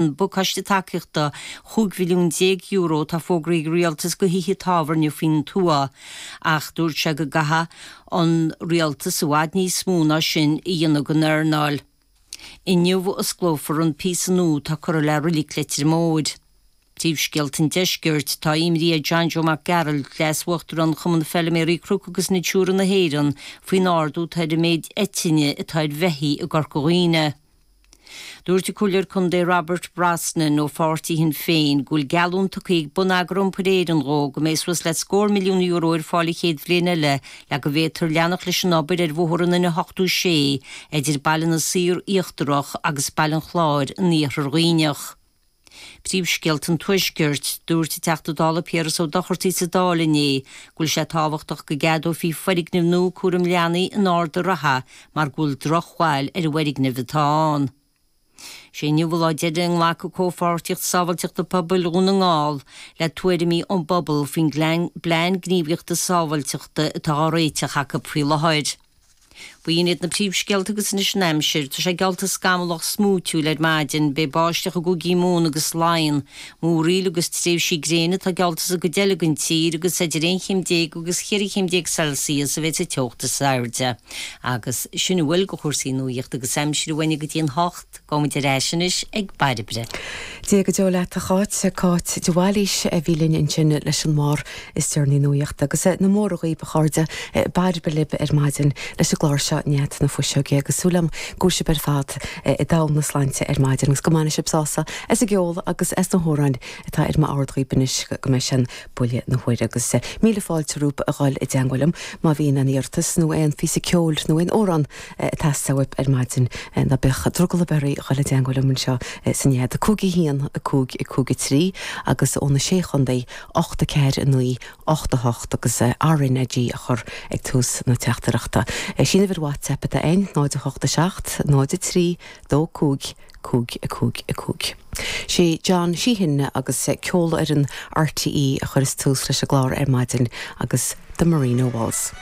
An pacáiste tacaíochta €15 mhilliún atá fógraithe ag an Rialtas do thithe tábhairne faoin tuath ach dúirt sé go gcaithfidh an Rialtas i bhfad níos mó ná sin a dhéanamh don earnáil. Inniu a osclófar an píosa nua atá curtha le Reilig Leitir Móir. Príomhscéalta an Deiscirt, Tá imní ar John Joe Mac Gearailt, Leas-Uachtarán Chumann Feilméaraí Cnoc agus Natura na hÉireann, faoin ardú atá ar an méid eitinne atá ar bheithígh i gCorca Dhuibhne. Dúirt an Comhairleoir Contae Robert Brosnan ó pháirtí Shinn Féin go bhfuil geallúint tugtha ag Bonneagar Iompair Éireann dhó go mbeidh suas le scór milliún euro ar fáil an chéad bhliain eile le go bhféadfar leanacht leis an obair ar bhóthar an N86 idir Baile na Saor Íochtarach agus Baile an Chláir in Iarthar Dhuibhneach. Príomhscéalta an Tuaiscirt, Dúirt an Teachta Dála Piaras Ó Dochartaigh sa Dáil inné go bhfuil sé tábhachtach go gceadófaí foirgneamh nua cúram leanaí in Ard a' Rátha mar go bhfuil drochbhail ar an bhfoirgneamh atá ann. Sé inniu an lá deiridh a nglacfaidh Comhpháirtíocht Sábháilteachta Pobail Dhún na nGall le tuairimí ón bpobal faoin bPlean Gníomhaíochta Sábháilteachta atá á réiteach acu faoi láthair. B'in iad na príomhscéalta agus anois an aimsir. Tá sé geallta scamallach smúitiúil ar maidin. Beidh báisteach i gcúigí Mumhan agus Laighean. Múraíl agus tréimhsí gréine atá geallta sa gcuid eile den tír agus idir 11 chéim agus 14 chéim Celsius a bheidh sa teocht is airde. Agus sin a bhfuil de chúrsaí nuaíochta agus aimsire uainne go dtí an hocht. Gabhaimid ar ais anois ag Bairbre. Dia go deo leat a Cháit, Cáit de Bhailís a bhí linn ansin leis an mbarr is deireanaí nuaíochta. Agus na móra dhaoib a chairde, Bairbre libh ar maidin leis an gclár seo Nead na Fuiseoige agus súil agam go bhfuil sibh ar fad i dtogha na sláinte ar maidin agus go mbainfidh sibh sásamh as an gceol agus as na hamhráin atá ar m'ord dhaoib anois go mbeidh sé an buille na huaire agus míle fáilte romhaibh a dhul i dteangmháil liom má bhíonn aon iarratas nó aon phíosa ceoil nó aon amhrán ag teastáil uaibh ar maidin. Ná bíodh drogall ar bith oraibh a dhul i dteangmháil liom anseo sa Nead. 5 1 5 5 3 agus ó na Sé Chontae 8 4 9 8 8 agus RnaG a chur ag tús na teachtaireachta. Is í an uimhir WhatsApp atá againn, 0 8 7 0 3 2 5 5 5 5. Sé John Sheahan agus Ceolfhoireann RTÉ a chuireas tús leis an gclár ar maidin agus The Marino Waltz.